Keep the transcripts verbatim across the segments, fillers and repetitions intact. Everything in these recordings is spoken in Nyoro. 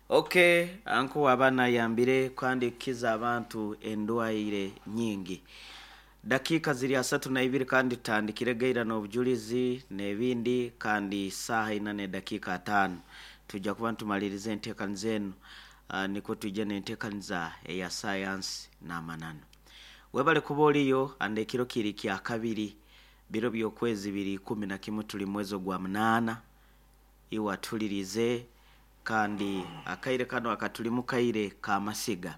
Okay, anko wabana yambire kandi kiza abantu endwaire nyingi. Dakika ziri asatu na ibiri kandi tutandikire gaira n'obujulizi n'ebindi kandi saaha ina n'edakiika ataano tujja kuba ntumaliriza enteekaniza enu. uh, nikwo tujja n'enteekaniza eya sayansi n'amananu. Webale kuba oliyo ande ekiro kiri kya kabiri, biro by'okwezi biri ikumi na kimu, tuli mwezi ogwa munaana. Iwe atulirize kandi akaire kano akatulimu kaire k'amasiga.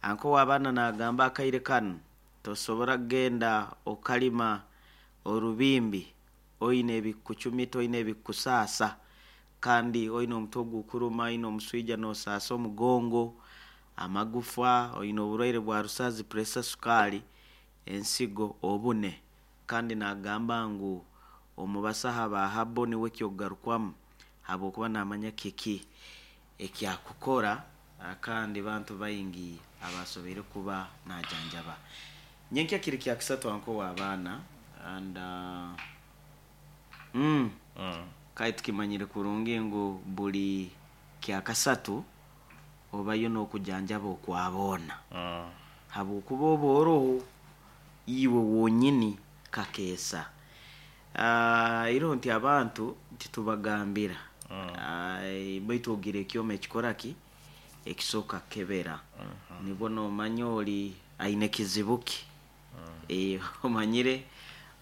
Anko w'abaana nagamba akaire kanu tosobora kugenda okalima orubimbi oine ebikucumita, oine ebikusaasa, kandi oine omutwe ogukuruma, oine omuswija n'osaasa omugongo, amagufa, oine oburwaire bwa rusazi, pressure, sukaali, ensigo, obune. Kandi nagamba ngu omubasaha ba habo niwe kyokugarukwamu habwokuba namanya kiki ekyakukora, kandi bantu baingi abasoboire kuba najanjaba. Nyenkya kiri kya kisatu anko w'abaana and uh, mm, Mm. kai tukimanyire kurungi ngu buli kyakasatu obayo n'okujanjaba okwaboona Mm. habwokuba oba oroho iwe wonyini kakeesa. uh, iro nti abantu titubagambira Mm. uh, baitu ogira ekyoma ekikora ki ekisooka kukebera, nibwo nomanya oli aine kizibu ki. Eh, omanyire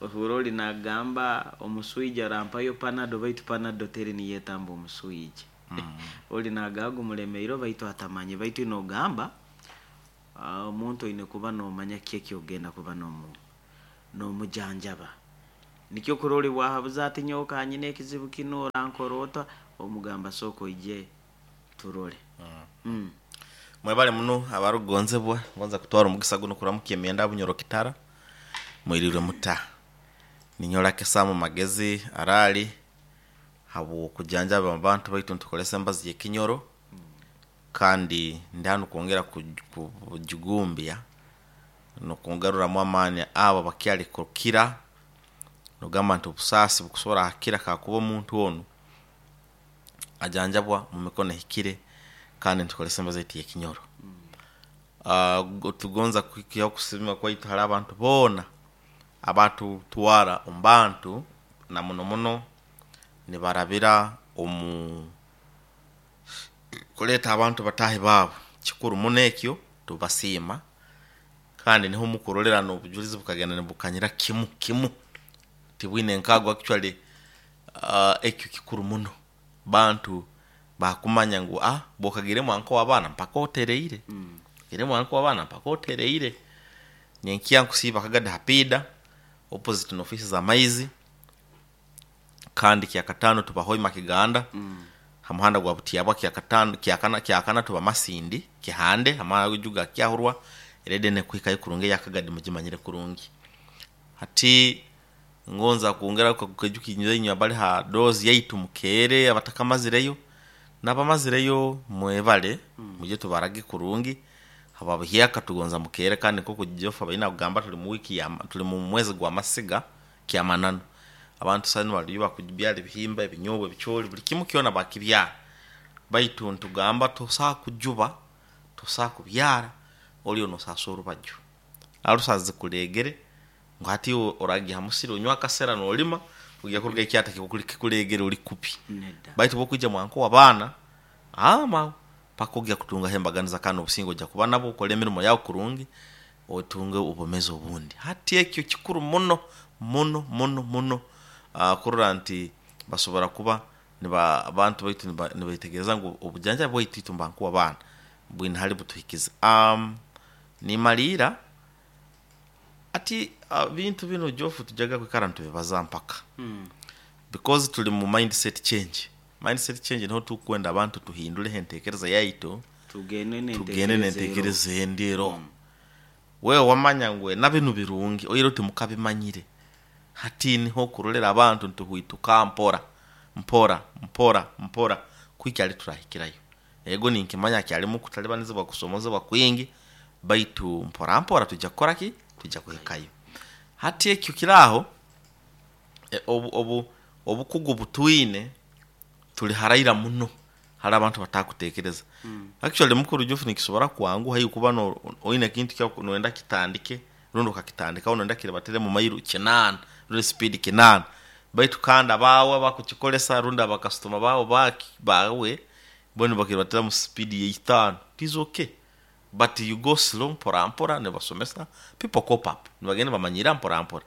ohura oli nagamba omuswija rampayo Panado, baitu Panado teri niyetamba omuswija. Oli nagamba gumulemeire baitu atamanye, baitu nogamba ah, omuntu oine kuba nomanya ki ekyogenda kuba nomu nomujanjaba. Nikyo kurora bwahabuza ati nyowe kanyine ekizibu kinu orankora ota, omugamba sooka oije turole. Mm. Mwebale muno abarukugonzebwa, ngonza kutwara omugisa guno kuramukya emyenda Bunyoro Kitara, mwirirwe muta. Ninyola kesamu magezi arali habw'okujanjaba abantu baitu ntukolesa embazi y'ekinyoro, kandi ndi hanu kwongera ku- kujugumbya n'okugaruramu amaani abo abakyali kukira, nogamba nti obusaasi bukusobora hakira kakuba omuntu onu ajanjabwa mu mikono ehikire kandi ntukolesa embazi yaitu y'ekinyoro. Uh, tugonza kwihaho okusiima kwaitu hali abantu boona abatutwara omu bantu na muno muno nibarabira omu kuleeta abantu bataahi baabo. Kikuru muno ekyo tubasiima, kandi niho mukurolera n'obujulizi bukagenda nibukanyira kimu kimu, tibwine nkago actually. uh, ekyo kikuru muno, bantu bakumanya ngu ah bwokagiremu anko w'abaana mpaka otereire, Mm. giremu anko w'abaana mpaka otereire. Nyenkya nkusiiba akagadi hapiida opposite n'ofisi za maizi, kandi kyakataano tuba Hoima Kiganda Mm. ha muhanda gwa Butiabwa. Kyakataano, kyakana kyakana tuba Masindi Kihande hamara juga kyahurwa erede nekuhikayo kurungi eyakagadi mugimanyire kurungi. Hati ngonza kwongera kukejukinywa inywe abali ha dozi yaitu mukeere, abatakamazireyo n'abamazireyo mwebale, muje tubarage kurungi hababuhyaka tugonza mukeere. Kandi nk'oku Jofa baina kugamba tuli mu wiki ya tuli mu mwezi gwa masiga kyamananu, abantu sanu baliyo bakubyala ebihimba, ebinyobwa, ebicooli, buli kimu kyona bakibyara, baitu ntugamba tosaa kujuba, tosaa kubyara oliyo nosasa orubaju arusazi kulegere ngu hati oragiha musiri onywa akasera nolima ojya kuruga ekyata kikukuli- kikulegere oli kupi. Nedda. Baitu bokwija mwanko w'abaana ama paka ojya kutungaho embaganiza kandi obusinge ojya kuba nabo okole emirimo yawe kurungi otunge obumezi obundi. Hati ekyo kikuru muno muno muno muno, uh, kurora nti basobora kuba niba abantu baitu niba- nibetegereza ngu obujanjabi bwaitu itwe mbankuwa abaana bwine hali butuhikize. um, nimaliira ati uh, bintu bino Jofu tujaga kwikara nitubibaza mpaka Mm. because tuli mu mindset change. Mindset change niho tukwenda abantu tuhindule entekereza yaitu, tugende tugende n'entekereza ero. nentekereza endiro. Wewe wamanya ngu na binu birungi oire uti mukabimanyire, hati niho kurolera abantu ntuhwituka mpora mpora mpora mpora kuikyali turahikirayo. Ego ninkimanya kyalimu kutalibanizibwa, kusomozebwa kwingi, baitu mpora mpora tujja kukora ki, tujja kuhikayo. Hati ekyo kiraho e, obu, obu, obukugu butwine tuli haraira muno. Hari abantu batakutekereza. Actually mukuru Jofu nikisobora kwanguha hiyo kuba no oine kintu kya noenda kitandike rundi ukakitandika noenda kirebatere mu mairu kinana rundi speed kinana baitu kandi abawe bakukikolesa rundi abakastoma bawo baki bawe bone bakirebatera mu speed ya itano. It is okay, but you go slow mpora mpora nebasomesa people cope up nibagenda bamanyira mpora mpora.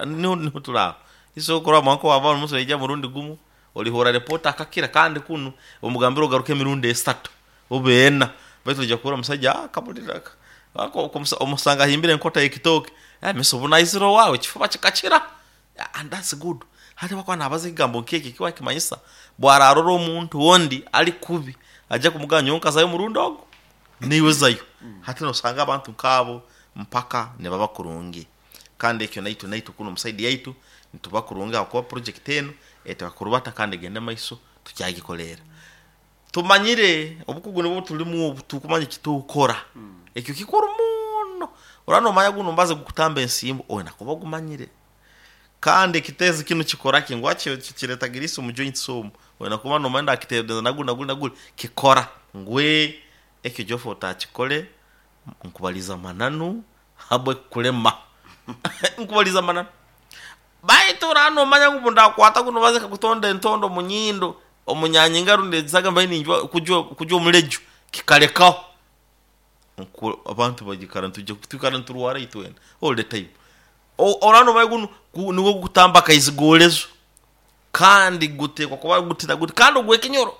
Niho niho turaho isokora mwanko wabana muso ijya murundi gumu olihora report akakira kandi kunu omugambiro ogaruke emirundi esatu obeena baitu ojja kuhura omusajja akabulira omusanga ahimbire enkota y'ekitooke miso bunaiziro wawe ekifuba kikakira. And that's good. Hati bakuba nabaza ekigambo nk'eki kiba kimanyisa bwararora omuntu wondi ali kubi ajja kumugamba nyowe nkazayo omurundi ogu niiwe zayo. Hati nosanga abantu nkaabo mpaka nibaba kurungi. Kandi ekyo naitu naitu kuno omusaidi yaitu nituba kurungi ahakuba project enu etakurubata kandi egende maiso tukyagikolera. Tumanyire obukugu nibwo tulimu obu tukumanya ekitukora. Ekyo kikuru muno. Orano omanya guno mbaze gukutamba ensimbu oina kuba ogumanyire. Kandi ekiteezi kinu kikora ki ngu kireta girisi omu joints omu oina kuba nomanya ndakiteereza naguri naguri naguri kikora ngwe ekyo Jofu otakikole nkubaliza mananu habwe kulema. Nkubaliza mananu. Baitu orano omanya ngu ndakwata guno baze kakutonda entondo omunyindo omunyanyinga rundi ezisaga mbaye ninjwa kujwa kujwa omuleju kikalekaho. Nku abantu bagikara ntujya tukara nturwara itwena all the time. Orano omanya guno niwo gukutamba kaizigolezo kandi gutekwa kuba gutira guti kandi ogwe kinyoro.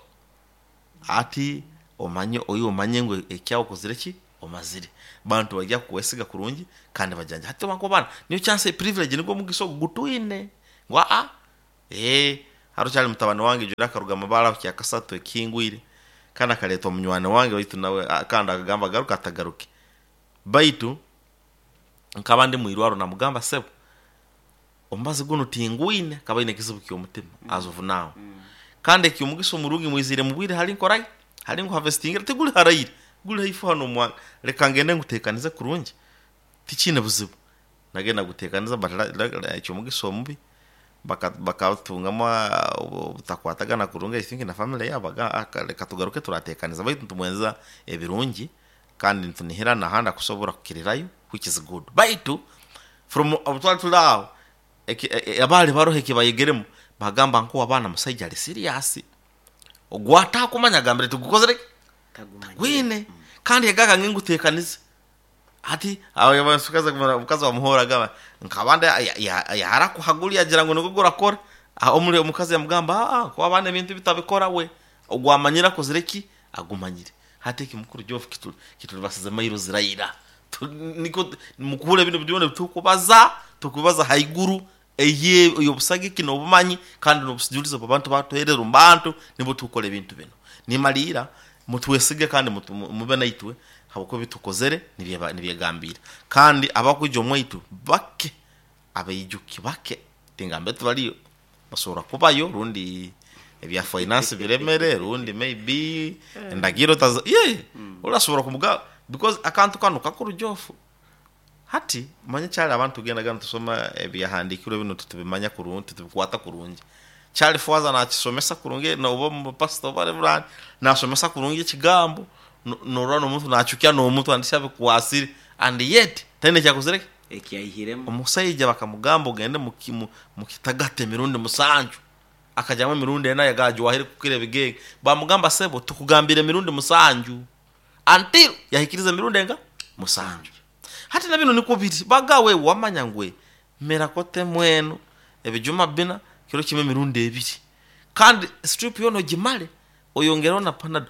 Ati omanye oyo omanye ngu ekyawo kozire ki omazire. Bantu bajya kuwesiga kurungi kandi bajanja. Hati bako bana niyo chance privilege niko mugiso gutwine. Ngwa a eh haro cyali mutabano wange jura karuga mabara kya kasatu ekingwire kandi akaletwa munywana wange baitu nawe kandi akagamba garuka atagaruke. Baitu nkabandi muirwaro namugamba sebo ombazi guno tingwine kabaine kizibu kyo mutima as of now. Kandi ekyo mugiso murungi mwizire mubwire hari nkorai hari ngu harvesting tiguli harayire guli haifu hano mwa reka ngende ngutekanize kurungi tikine buzibu nagenda gutekaniza but ekyo mugiso mubi bakatungamo butakwatagana kurungi I think na family yabaga reka tugaruke turatekaniza baitu tumwenza ebirungi kandi ntunihira nahanda kusobora kukirirayo which is good. Baitu from obutwali tulawo abali barohe kibayegeremu bagamba nko abana musajja ali serious ogwata kumanya gambire tugukozere gwine kandi yagaga ngingutekanize ati ayo basukaza mukazi wa muhora gaba nkabanda yarakuhaguli agira ngo niko gurakora omuri omukazi yamugamba ah ko abana ebintu bitabikora we ogwamanyira kozireki agumanyire hati kimukuru Jofu kitu kitulibasize mairo ziraira niko mukule bino byone tukubaza tukubaza haiguru eye yobusage kino obumanyi kandi nobusijuliza abantu batuherera mbantu nibo tukole ebintu bino nimalira mutwesige kandi mube naitwe habako bitukozere nibyegambira kandi abakujja omwaitu bake abeijuki bake tingambe tubaliyo basobora kubayo rundi ebya finance biremere rundi maybe endagiro tazo ye urasobora kumuga because akantu kano kakuru Jofu hati manye cyali abantu genda gana tusoma ebyahandikirwe bino tutubimanya kurungi tubikwata kurungi cyali fwaza nakisomesa kurungi no bo pastor bare burani nasomesa kurungi ekigambo norano omuntu nachukia no omuntu andisha bikwasire and yet tene kyakuzireke ekiyahiremo omusajja bakamugamba ogende mukimu mukitagate emirundi musanju akajamwe emirundi ena yagaje wahire kukira ebigege bamugamba sebo tukugambira emirundi musanju until yahikiriza emirundi enga musanju. Hati na bino niko biri bagawe wamanya ngwe mera kote mwenu ebijuma bina kiro kimwe emirundi ebiri kandi strip yono gimale oyongeraho na panado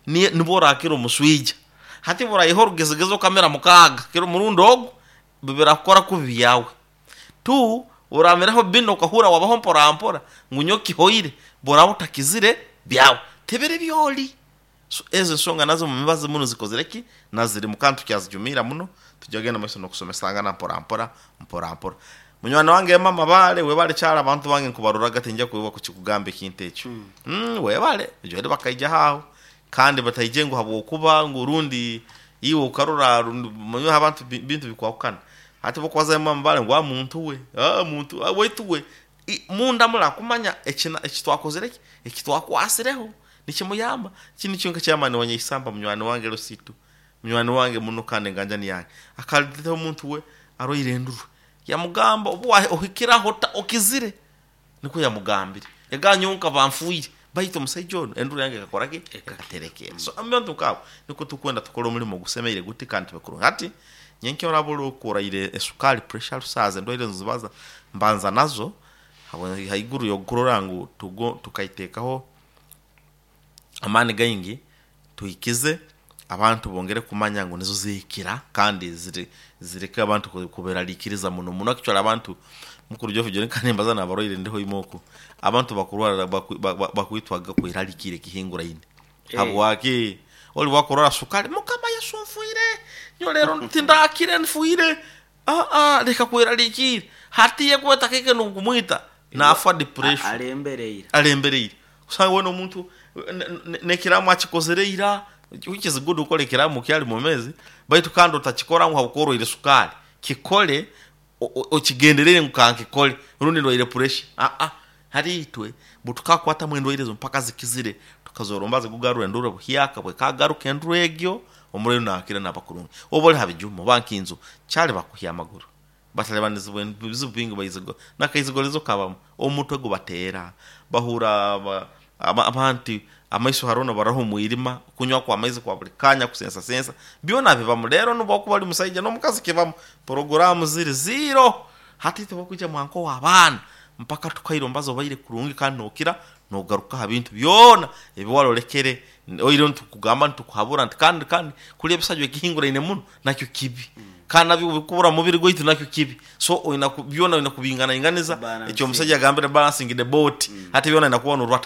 nibora akiro muswija hati bora ihoro gezegezo kamera mukaga kiro murundo ogu bibirakora kubi yawe tu urameraho bino ukahura wabaho mpora mpora ngunyoki hoire bora utakizire byawe tebere byoli. So ezo nsonga nazo mumibazi muno zikozereki naziri mukantu kyazijumira muno tujagenda maiso nokusomesanga na mpora mpora mpora mpora. Munywana wange mama bale webale cyara abantu bange nkubaruraga tinjya kubiba kukigamba ekintu ekyo mm, mm webale jwere bakaija hawo kandi batayije ngo habwo kuba ngo rundi iwe ukarura munywa abantu bintu bikwakana hati bokwaza mama bale ngo muntu we ah muntu wetu we munda mura kumanya ekina ekitwakozereki ekitwakwasireho Nikimuyamba kini kyonka kyamani wanyaisamba munywani wange Lusitu, munywani wange muno kandi enganjani yange, akaleta omuntu we arwaire enduru, yamugamba obu wa- ohikiraho ta okizire, niko yamugambire eganyonka banfuire, baitu omusaija ono enduru yange ekakoraki, ekaterekera. So abantu nkabo niko tukwenda tukora omulimo gusemeire guti kandi tube kurungi. Hati nyenke orabura okuraire esukali, pressure, rusaza, endwaire nzibaza mbanza nazo habwe- haiguru yokurora ngu tugo tukaiteekaho amaani gaingi tuhikize abantu bongere kumanya ngu nizo zihikira kandi ziri zireke abantu ku- kuberaliikiriza muno muno. Actually abantu mukuru jofu joni kandi mbaza nabarwaire ndiho imoku abantu bakurwara baku- ba- ba- bakwitwaga kweralikire kihinguraine. Eh. Habwaki oli wakurwara sukali, mukama Yesu nfuire nyo lero tindakire nfuire, ah ah reka kweralikire hatiye kweta keke nukumwita nafa depression. Alembereire. Alembereire kusanga wena omuntu nekiramu akikozere ira, which is good ukole ekiramu kyali mumezi, baitu kandi otakikora ngu habwokuba sukali kikole o- o- okigenderere ngu kankikole rundi ndwaire pressure. Ah ah hari itwe butukakwatamu endwaire ezo mpaka zikizire tukazoromba zigugarura enduru buhyaka bwekagaruka enduru egyo omurero nakira nabakurungi oba oli habijuma oba nkinzu kyali bakuhya amaguru batalebanizibwa ebizibu bingi baizigo nakaizigolezo kabamu omutwe gubateera bahura aba- aba- abantu amaiso harona baraho mwirima kunywa kwa amaizi kwa buli kanya kusensa sensa byona bibamu. Rero nuba bali musaija n'omukazi kibamu programu ziri zero hati tebakwijja mwanko w'abaana mpaka tukairombaza obaire kurungi kandi nokira nogaruka ha bintu byona ebiwalolekere oire ntukugamba ntukuhabura nti kandi kandi kulya ebisajwa ekihinguraine muno nakyo kibi kandi nabyo bikubura mubiri gwaitu nakyo kibi. So oina ku- byona oina kubinganainganiza. Balancing. Ekyo omusajja agambire balancing the boat, hati byona inakuwa norwata.